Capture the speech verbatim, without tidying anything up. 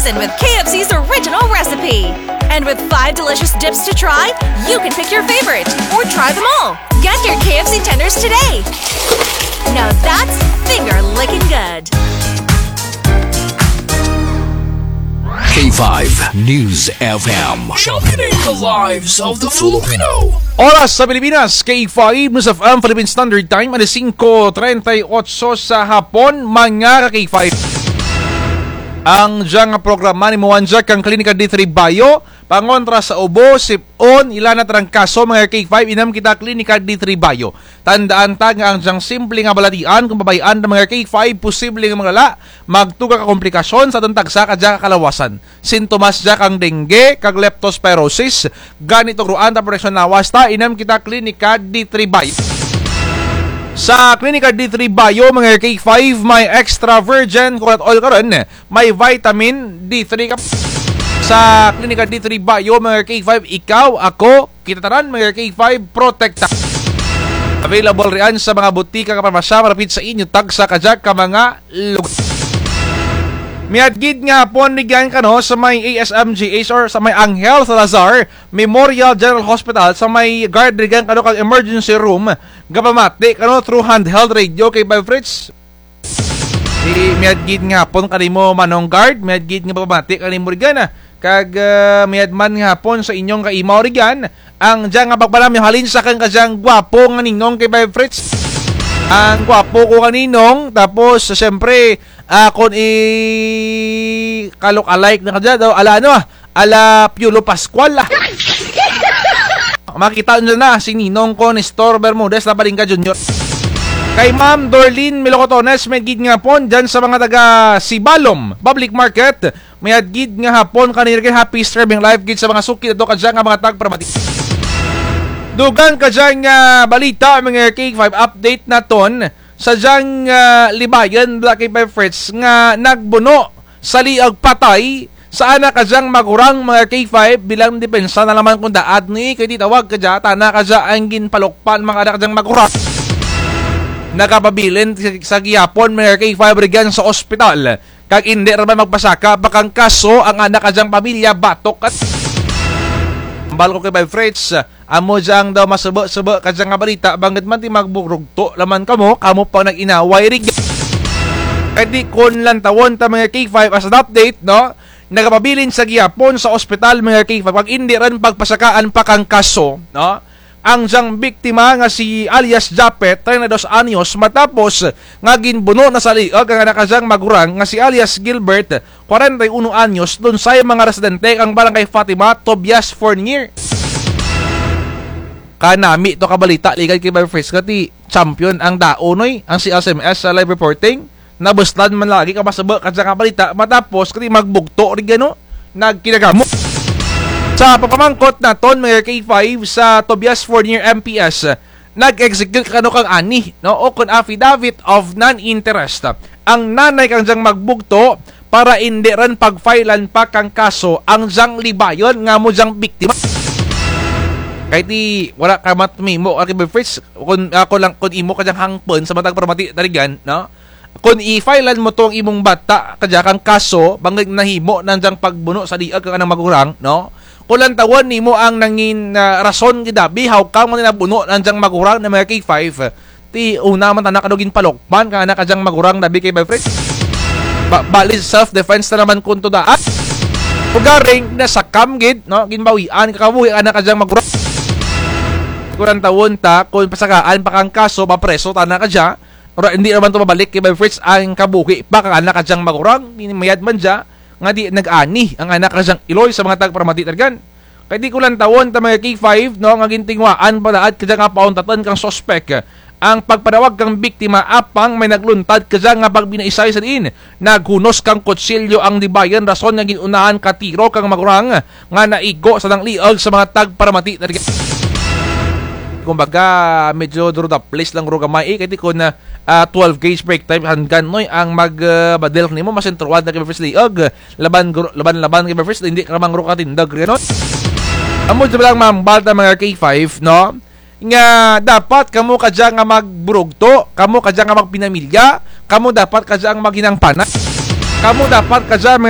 And with K F C's original recipe. And with five delicious dips to try, you can pick your favorite or try them all. Get your K F C tenders today. Now that's finger licking good. K five News F M. Championing the lives of the Filipino. Oras sa Pilipinas, K five News F M Philippine Standard Time, alas singko treinta y ocho sa hapon, mga ka K five. Ang dyang programa nimo andya kang Klinika D three Bayo, pangontra sa ubo, sip-on, ila na trangkaso, mga K five, inam kita Klinika D three Bayo. Tandaan ta nga ang dyang simple nga balatian, kon babay-an ta mga K five, posible nga maglala, magtuga ka komplikasyon sa atun tagsa ka dya ka kalawasan. Sintomas dya kang dengue, kag leptospirosis, gani tugruan ta proteksyon lawas ta, inam kita Klinika D three Bayo. Sa Klinika D three Bayo, mga K five, may extra virgin coconut oil karon, may vitamin D three ka. Sa Klinika D three Bayo, mga K five, ikaw, ako, kita tanan, mga K five, protekta. Available riyan sa mga butika kag parmasya malapit sa inyo, tagsa ka dya ka mga lugar. Mayad gid nga hapon rugyan kano sa may A S M G H or sa may Angel Salazar Memorial General Hospital, sa may guard rugyan kano kag emergency room, gapamati kano through handheld radio, K five Fritz. Di, mayad gid nga hapon kanimo, Manong Guard, mayad gid nga pamati kanimo rugyan, ah. Kag, ah, mayad man nga hapon sa inyong kaimaw rugyan, ang dyang nga pagpalamyo halin sa akun kadyang gwapo nga ninong, K five Fritz. Ang gwapo ko nga ninong, tapos, siyempre, ah, kon i-look-alike na kadya daw, ala ano, ah, ala Piolo Pascual, ah. Makita nyo na si Ninong ko, Nestor Bermudez, Lapalingka Junior. Kay Ma'am Dorlene Melocotones, mayad gid nga hapon dyan sa mga taga Sibalom Public Market. Mayad gid nga hapon kanira, kay happy streaming live gid sa mga suki nato kadya nga mga tagparamati. Dugang kadya nga balita, mga K five, update naton sa dyang, ah, libayon, Black K five Fritz, nga nagbuno sa liog, patay sa ana kadyang magurang, mga K five, bilang depensa na lamang kon daad ni, kay ti tawag kadya, tana kadya ang ginpalukpan, mga ana kadyang magurang. Nagapabilin sa, sa gihapon, mga K five, rugyan sa ospital. Kag indi ra man magpasaka pa kang kaso ang ana kadyang pamilya, batok kat. Hambal ko, K five Fritz, amo dyang daw masubo-subo kadya nga balita, bangud man ti magburugto lamang kamo, kamo pa nag-inaway rugya. Kay ti kon lantawon ta, mga K five, as an update, no? Nagapabilin sa gihapon sa ospital, mga K five, kag indi run pagpasakaan pa kang kaso, no? Ang dyang biktima nga si alias Japet, treinta y dos anyos, matapos nga ginbuno na sa liog ang ana kadyang magurang nga si alias Gilbert, kwarenta y uno anyos, dun sa mga residente kang Barangay Fatima, Tobias Fornier. Kanami to ka balita, ligad, K five Fritz, kay ti champion ang daon, oy, ang C S M S sa live reporting. Nabuslan man lagi ka masubo kadya nga balita, matapos kay ti magbugto rugyan, no? Nagkinagamo. Sa pagpamangkot naton, mga K five, sa Tobias Fornier M P S, nag-execute kano kang ani, no? O kon affidavit of non-interest. Ang nanay kang dyang magbugto para indi run pag-filean pa kang kaso ang dyang libayon nga amo dyang biktima. Kay ti wara ka matmimo, K five Fritz, kon, ah, kon lang, kon imo ka dyang hangpon sa mga tagparamati ta rugyan, no? Kon i-filean mo tong imong bata kadya kang kaso, bangud nahimo na dyang pagbuno sa liog kang anang magurang, no? Kon lantawon nimo ang nangin, ah, rason gid abi, how come nga nabuno na dyang magurang na, mga K five. Ti una man tana kano ginpalukpan kang ana kadyang magurang, dabi, K five Fritz. Ba, bali self-defense na naman kon to daad. Ugaring nasakam gid, no? Ginbawian ka kabuhi ana kadyang magurang. Kon lantawon ta, kon pasakaan pa kang kaso, mapreso tana kadya. Ora, indi naman to mabalik, K five Fritz, ang kabuhi pa kang ana kadyang magurang, mayad man dya nga di nag-ani ang ana kadyang iloy sa mga tagparamati ta rugyan. Kay ti kon lantawon ta, mga K five, no, nga gintinguhaan pa daad kadya nga pauntatun kang suspek ang pagpanawag kang biktima apang may nagluntad kadya nga pagbinaysay sa diin naghunos kang kutsilyo ang libayon, rason nga gin-unahan ka tiro kang magurang nga naigo sa dyang liog sa mga tagparamati ta rugyan. Kumbaga, medyo duro da place lang guro gamay, eh, kay ti kon, ah, twelve gauge brake time handgun, noy, ang mag, ah, badil kanimo, masentruhan na kay Fritz liog. Laban, guro, laban, laban kay Fritz, indi ka man guro katindog rugyan, no? Amo dya lang mambal ta, mga K five, no? Nga dapat kamo kadya nga magburugto, kamo kadya nga magpinamilya, kamo dapat kadya ang maghinang panay. Kamo dapat kadya, mga